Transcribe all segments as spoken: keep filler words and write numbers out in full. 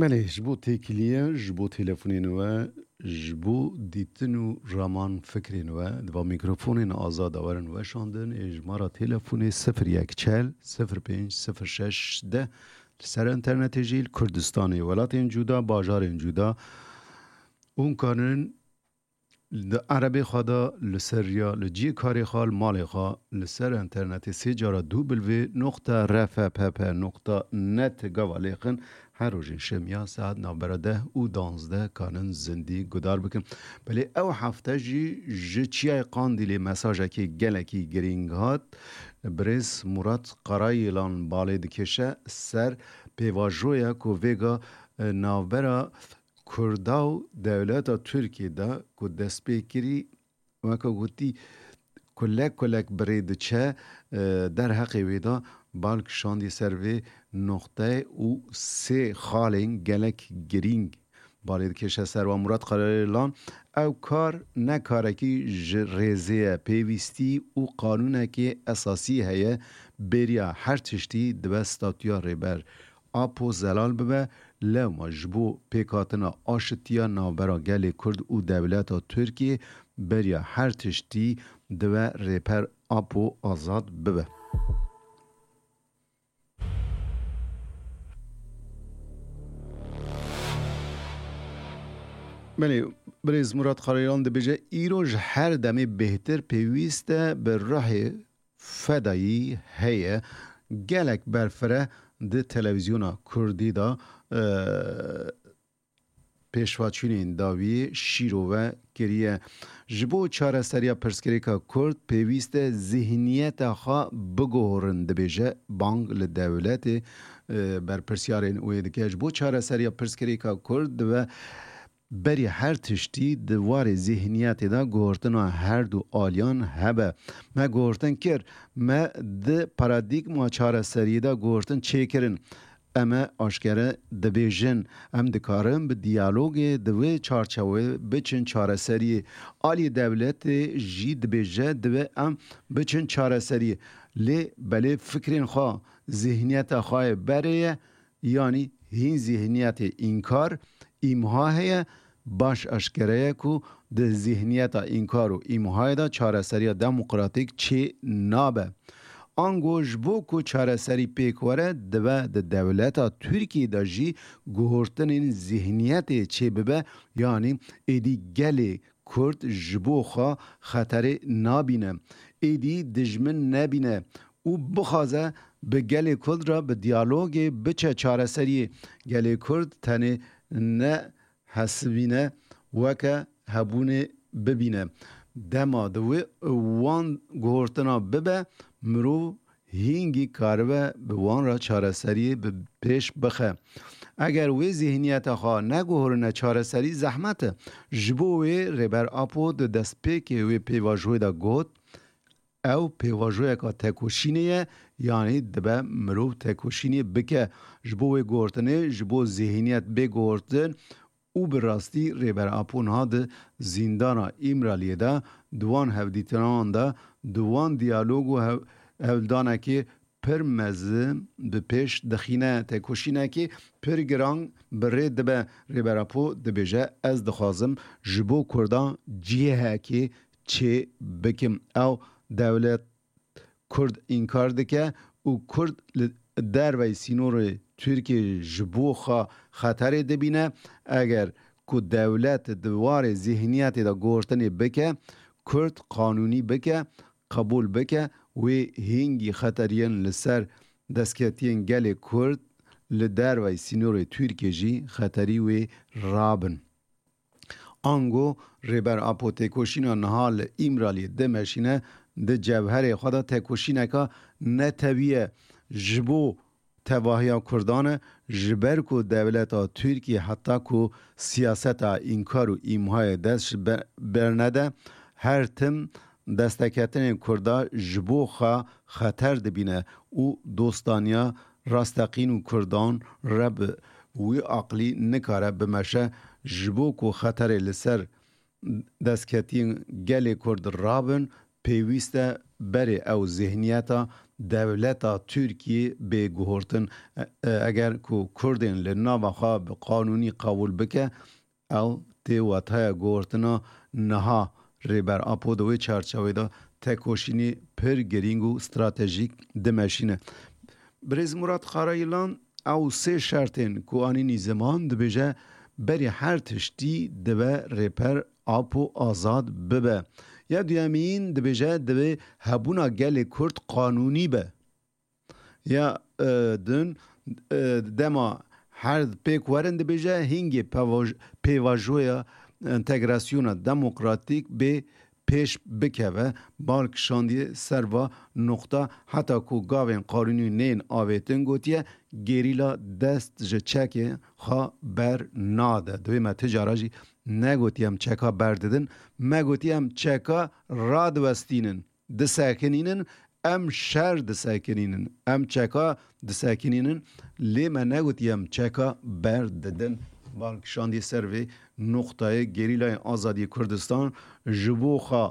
Belê, ji bo têkiliyê, ji bo telefonên we, ji bo dîtin û raman fikrên we, di va mîkrofonên azad de werin weşandin, ê ji ma re telefonê sifir yek çel sifir pênc sifir şeş deh, li ser internetê jî li Kurdistanê, welatên cuda, bajarên cuda, hûn karin di erebê xwe de li ser riya, li cihê karê xwe, li malê xwe, li ser internetê sê cara du bilvê noqta R F P P noqta net gava lêxin her rojên şemiya saet navbera deh û danzdeh kanin zindî guhdar bikin. Belê ew hefte jî ji Çiyayê Qandîlê mesajekê gelekî girîng hat. Birêz Murat Karayêlan balê dikêşe ser pêvajoya ku vêga, e, navbera Kurda û dewleta Tirkiyê de ku dest pê kirî, weke gotî, kulek kulek bi rê diçe, e, derheqê wê de bal kişandî ser vê noqteyê û sê xalên gelek girîng balê dikêşe ser wan. Murat Karayêlan, ew kar ne karekî ji rêzê ye, pêwîstî û qanûnekê esasî heye, bêriya her tiştî dibe statûya Rêber Apo zelal bibe, lewma ji bo pêkhatina aşitiya navbera gelê Kurd û dewleta Tirkiyê beriya her tiştî dibe Rêber Apo azad bibe. Belê, birêz Murat Karayêlan dibêje, îro ji her demê bêhtir pêwîst e bi ruhê fedayî heye. Gelek berfireh di televîzyona kurdî de, e, pêşveçûnên dawiyê şîrove kiriye. Ji bo çareseriya pirsgirêka kurd pêwîst e zîhniyeta xwe biguhorin, dibêje, bang li dewletê, e, berpirsiyarên wê dike. Ji bo çareseriya pirsgirêka kurd dibe berî her tiştî di warê zîhniyetê de guhortina her du aliyan hebe. Me guhortin kir, me di paradîgma çareseriyê de guhortin çêkirin. Em ê aşkere dibêjin, em dikarin bi diyalogê di wê çarçewê biçin çareseriyê. Alî dewletê jî dibêje, divê em biçin çareseriyê. Lê belê fikrên xwe, zîhniyeta xwe yê berê ye, yanî hîn zîhniyetê înkar, îmha heye, baş aşkere ye ku di zîhniyeta înkar û îmhayê de çareseriya demokratîk çê nabe. Ango ji bo ku çareserî pêk were, dibe di dewleta Tirkiyê de jî guhortinên zîhniyetê çêbibe, yanî êdî gelê Kurd ji bo xwe xeterê nabîne, êdî dijmin nebîne û bixwaze bi gelê Kurd re bi diyalogê biçe çareseriyê. Gelê Kurd tenê ne hesibîne weke hebûnê bibîne. Dema di wê wan guhortina bibe, mirov hîngî karibe bi wan re çareseriyê bi pêş bixe. Eger wê zîhniyeta xwe neguhorine çareserî, zehmet e. Ji bo wê Rêber Apo di destpêkê wê pêvajoyê de got, ew pêvajoyeka tekoşînê ye, yanî dibe mirov tekoşînê bike. Ji bo wê guhortinê, ji bo zîhniyet bê guhortin û bi rastî Rêber Apo niha di zîndana Îmraliyê de, di wan hevdîtinan de, di wan diyalog û hev-, hevdanekê pir mezin bi pêş dixîne. Tekoşînekê pir giran bi rê dibe. Rêber Apo dibêje, ez dixwazim ji bo Kurdan cihekê çê bikim. Ew dewlet Kurd înkar dike û Kurd li derveyî sînorê Tirkiyê ji bo xwe xeterê dibîne. Eger ku dewlet di warê zîhniyetê de guhortinê bike, Kurd qanûnî bike, qebûl bike, wê hîngî xeteriyên li ser destketiyên gelê Kurd li derveyî sînorê Tirkiyê jî xeterî wê rabin. Ango Rêber Apo têkoşîna niha li Îmraliyê dimeşîne, di cewherê xwe de tekoşîneka netewî ye. Ji bo tevahiya Kurdan e, ji ber ku dewleta Tirkiyê heta ku siyaseta înkar û îmhayê dest ji be-, bernede, her tim desteketinên Kurda ji bo xwe xeter dibîne û dostaniya rasteqîn û Kurdan re bi wî aqlî nikare bimeşe, ji bo ku xeterê li ser destketiyên gelê Kurd rabin, pêwîst e berê ew zêhniyeta dewleta Tirkiyê bê guhortin. E, e, eger ku Kurdên li nava xwe bi qanûnî qebûl bike, ew tê wetaya guhortina niha Rêber Apo di wê çarçewê de tekoşînê pir girîng û stratejîk dimeşîne. Birêz Murat Karayilan ew sê şertên ku anînî ziman dibêje, berî her tiştî dibe Rêber Apo azad bibe. Ya duyemîn dibêje, divê hebûna gelê Kurd qanûnî be. Ya, e, din, e, dema her pêk werin dibêje, hingê pevaj-, pêvajoya entegrasyona demokratîk bê pêş bikeve. Bal kişandiye ser va nuqta, heta ku gavên qanûnî nên avêtin, gotiye, gerîla dest ji çekê xwe ber nade. Divê me ti cara jî negotiye em çeka berdidin, me gotiye em çeka radiwestînin, disekinînin, em şer disekinînin, em çeka disekinînin, lê me negotiye em çeka berdidin. Bal kişandiye ser vê nuqtayê. Gerîlayên Azadiyê Kurdistan ji bo xwe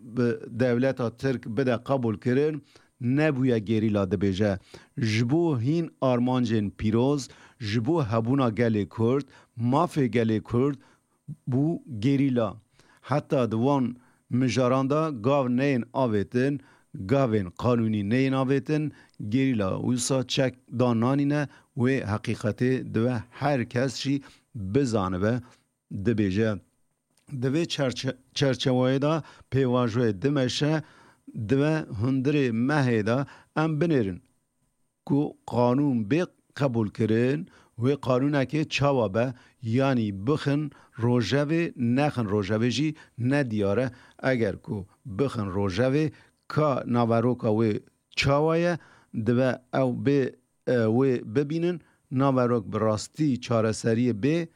bi dewleta Tirk bide qebûlkirin, nebûye gerîla, dibêje. Ji bo hîn armancên pîroz, ji bo hebûna gelê Kurd, mafê gelê Kurd bû gerîla. Heta di wan mijaran de gav neyên avêtin, gavên qanûnî neyên avêtin, gerîla wisa çek dan nanîne, wê heqîqetê divê her kes jî bizanibe, dibêje. Di vê çerçe-, çerçeweyê de pêvajoyê dimeşe, divê hundirê mehê de em binêrin ku qanûn bê qebûlkirin, wê qanûnekê çawa be, yanî bixin rojevê, nexin rojevê jî nediyar e. Eger ku bixin rojevê, ka naveroka wê çawa ye, divê ew bê, e, wê bibînin, naverok bi rastî çareseriyê bê,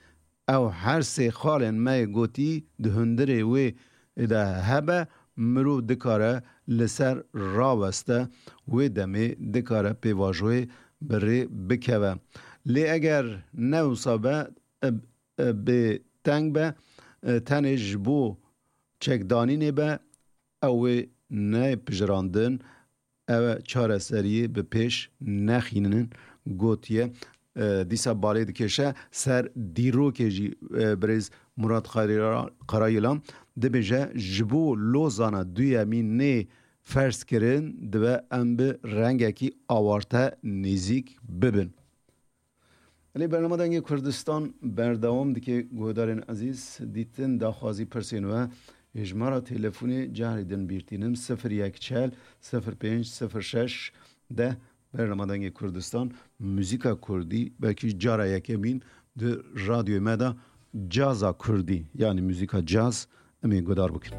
ew her sê xalên me yê gotî di hundirê wê de hebe, mirov dikare li ser raweste, wê demê dikare pêvajoyê bi rê bikeve. Lê eger ne wisa be, e, e, bê teng be, e, tenê ji bo çekdanînê be, ew ê neyê pijirandin, ew ê çareseriyê bi pêş nexînin, gotiye. E, dîsa balê dikêşe ser dîrokê jî, e, birêz Murat Xayra-, Karayilan dibêje, ji bo Lozana duyemîn nê ferz kirin, divê em bi rengekî awarte nêzîk bibin. Lê bernama Dengê Kurdistan berdewam dike. Guhdarên ezîz, dîtin, daxwazî, pirsên we, hêjmara telefonê carê din bîr tînim, sifir yek çel, sifir pênc, sifir şeş, deh. Bernama Dengê Kurdistan, muzîka kurdî, belkî cara yekemîn di radyoyê me de caza kurdî, yanî muzîka caz, em ê guhdar bikin.